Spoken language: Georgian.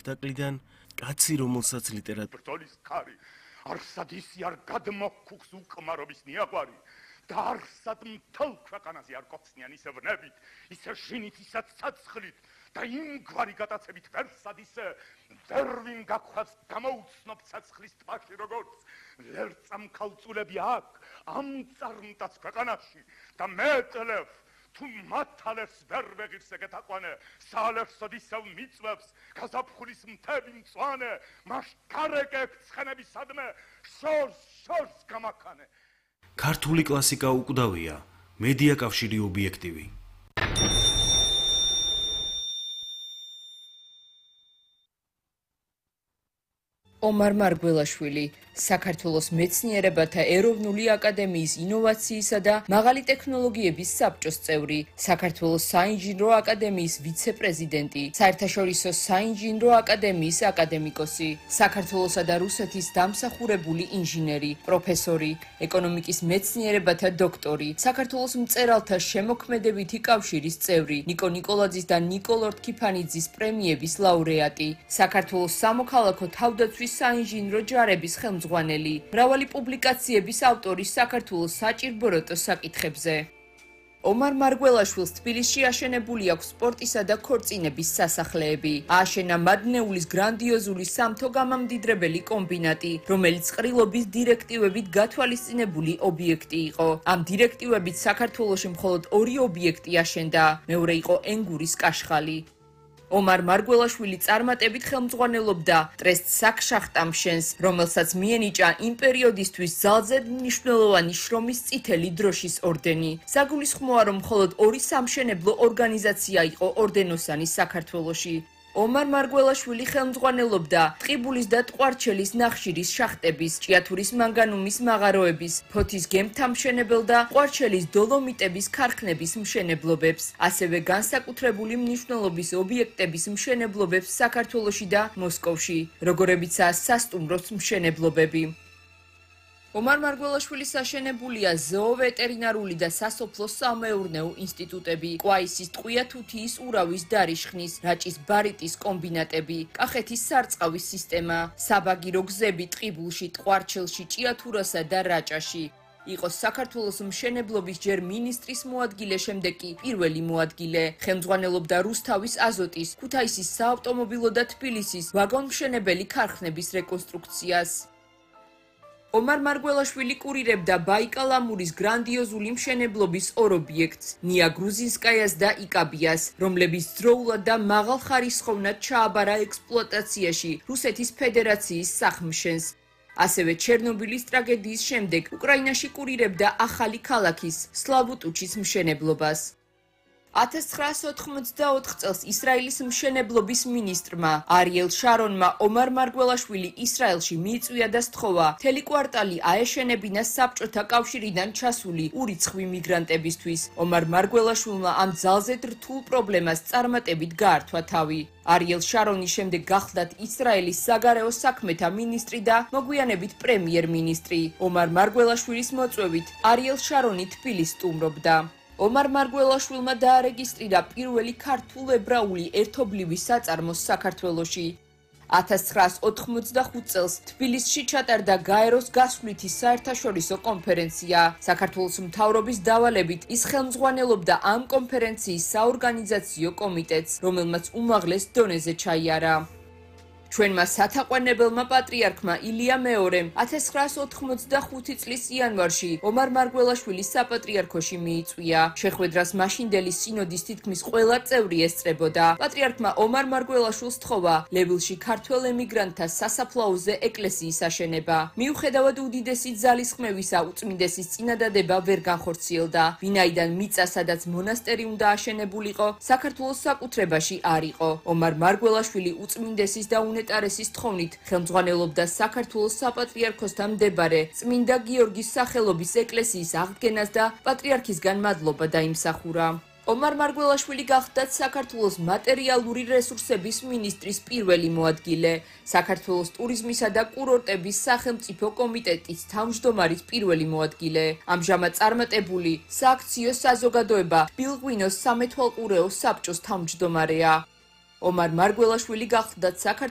სპექტაკლიდან კაცი, რომელსაც ბრძოლის ქარი არსად ისი არ გადმოქუხს უკმარობის ნიაღვარი და არსად მთელ ქვეყანაზე არ გოხსნიან ისე ვნებით, ისე შინით, ისე ცაცხლით და იმგვარი გატაცებით ვერსად ისე ვერ ვინ გაგხვას გამოუცნობ ცაცხლის ტბაში როგორც ლერწამ ქალწულები აქ ამ წარმტაც ქვეყანაში და მეტლევ თუ მათალებს ვერ ვეღირს ეგეთაყვანე საალერსოდ ისევ მიწვევს გაზაფხულის მთები მწვანე მას გარეკებ ცხენებისადმე შორს გამაქანე ქართული კლასიკა უკვდავია მედია კავშირი ობიექტივი ომარ მარგველაშვილი საქართველოს მეცნიერებათა ეროვნული აკადემიის ინოვაციისა და მაღალი ტექნოლოგიების საბჭოს წევრი, საქართველოს საინჟინრო აკადემიის ვიცე-პრეზიდენტი, საერთაშორისო საინჟინრო აკადემიის აკადემიკოსი, საქართველოსა და რუსეთის დამსახურებული ინჟინერი, პროფესორი, ეკონომიკის მეცნიერებათა დოქტორი, საქართველოს მწერალთა შემოქმედებითი კავშირის წევრი, ნიკო ნიკოლაძის და ნიკოლ ორთქიფანიძის პრემიების ლაურეატი, საქართველოს სამოქალაქო თავდაცვის საინჟინრო ჯარების ხელმძღვანელი, მრავალი პუბლიკაციების ავტორი საქართველოს საჭირბოროტო საკითხებზე. ომარ მარგველაშვილს თბილისში აშენებული აქვს სპორტისა და ქორწინების სასახლეები. ააშენა მადნეულის გრანდიოზული სამთო გამამდიდრებელი კომბინატი, რომელიც ყრილობის დირექტივებით გათვალისწინებული ობიექტი იყო. ამ დირექტივებით საქართველოში მხოლოდ 2 ობიექტი აშენდა, მეორე იყო ენგურის კაშხალი. ომარ მარგველაშვილი წარმატებით ხელმძღვანელობდა ტრესტ საქშახტამშენს, რომელსაც მიენიჭა იმ პერიოდისთვის ძალზედ მნიშვნელოვანი შრომის წითელი დროშის ორდენი. საგულისხმოა, რომ მხოლოდ 2 სამშენებლო ორგანიზაცია იყო ორდენოსანი საქართველოში. ომარ მარგველაშვილი ხელმძღვანელობდა ტყიბულის და ტყვარჩელის ნახშირის შახტების, ჭიათურის მანგანუმის მაღაროების, ფოთის გემთამშენებელ და ტყვარჩელის დოლომიტების ქარხნების მშენებლობებს, ასევე განსაკუთრებული მნიშვნელობის ობიექტების მშენებლობებს საქართველოში და მოსკოვში, როგორებიცაა სასტუმროს მშენებლობები. ომარ მარგველაშვილის აშენებულია ზოოვეტერინარული და სასოფლო-სამეურნეო ინსტიტუტები, ყვაისის ტყვია თუთიის ურავის დარიშხნის, რაჭის ბარიტის კომბინატები, კახეთის სარწყავის სისტემა, საბაგირო გზები ტყიბულში, ტყვარჩელში, ჭიათურასა და რაჭაში. იყო საქართველოს მშენებლობის ჯერ მინისტრის მოადგილე, შემდეგ კი პირველი მოადგილე. ხელმძღვანელობდა რუსთავის აზოტის, ქუთაისის საავტომობილო და თბილისის ვაგონმშენებელი ქარხნების რეკონსტრუქციას. ომარ მარგველაშვილი კურირებდა ბაიკალ-ამურის გრანდიოზული მშენებლობის 2 ობიექტს, ნია გრუზინსკაიას და იკაბიას, რომლებიც დროულად და მაღალხარისხოვნად ჩააბარა ექსპლუატაციაში რუსეთის ფედერაციის სახმშენს. ასევე ჩერნობილის ტრაგედიის შემდეგ უკრაინაში კურირებდა ახალი ქალაქის, სლავუტუჩის მშენებლობას. 1984 წელს ისრაელის მშენებლობის მინისტრმა არიელ შარონმა ომარ მარგველაშვილი ისრაელში მიიწვია და სთხოვა მთელი კვარტალი აეშენებინა საბჭოთა კავშირიდან ჩასული ურიცხვი მიგრანტებისთვის. ომარ მარგველაშვილმა ამ ძალზედ რთულ პრობლემას წარმატებით გაართვა თავი. არიელ შარონის შემდეგ გახლდათ ისრაელის საგარეო საქმეთა მინისტრი და მოგვიანებით პრემიერ-მინისტრი. ომარ მარგველაშვილის მოწვევით არიელ შარონი თბილისს სტუმრობდა. ომარ მარგველაშვილმა დაარეგისტრირა პირველი ქართულ-ებრაული ერთობლივი საწარმო საქართველოში. 1985 წელს თბილისში ჩატარდა გაეროს გასვლითი საერთაშორისო კონფერენცია. საქართველოს მთავრობის დავალებით ის ხელმძღვანელობდა ამ კონფერენციის საორგანიზაციო კომიტეტს, რომელმაც უმაღლეს დონეზე ჩაიარა. ჩვენმა სათაყვანებელმა პატრიარქმა ილია მეორემ 1985 წლის იანვარში ომარ მარგველაშვილის საპატრიარქოში მიიწვია. შეხვედრას მაშინდელი სინოდის თითქმის ყველა წევრი ესწრებოდა. პატრიარქმა ომარ მარგველაშვილს სთხოვა ლევილში ქართველ ემიგრანტთა სასაფლაოზე ეკლესიის აშენება. მიუხედავად უდიდესი ძალისხმევისა, უწმინდესის წინადადება ვერ განხორციელდა, ვინაიდან მიწა, სადაც მონასტერი უნდა აშენებულიყო, საქართველოს საკუთრებაში არ იყო. ომარ მარგველაშვილი უწმინდესის და უნეტარესის თხოვნით ხელმძღვანელობდა საქართველოს საპატრიარქოსთან მდებარე წმინდა გიორგის სახელობის ეკლესიის აღდგენას და პატრიარქისგან მადლობა დაიმსახურა. ომარ მარგველაშვილი გახლდათ საქართველოს მატერიალური რესურსების მინისტრის პირველი მოადგილე, საქართველოს ტურიზმისა და კურორტების სახელმწიფო კომიტეტის თავმჯდომარის პირველი მოადგილე. ამჟამად წარმატებული სააქციო საზოგადოება ბილღვინოს სამეთვალყურეო საბჭოს თავმჯდომარეა. ომარ მარგველაშვილი გახლდათ საქართველოს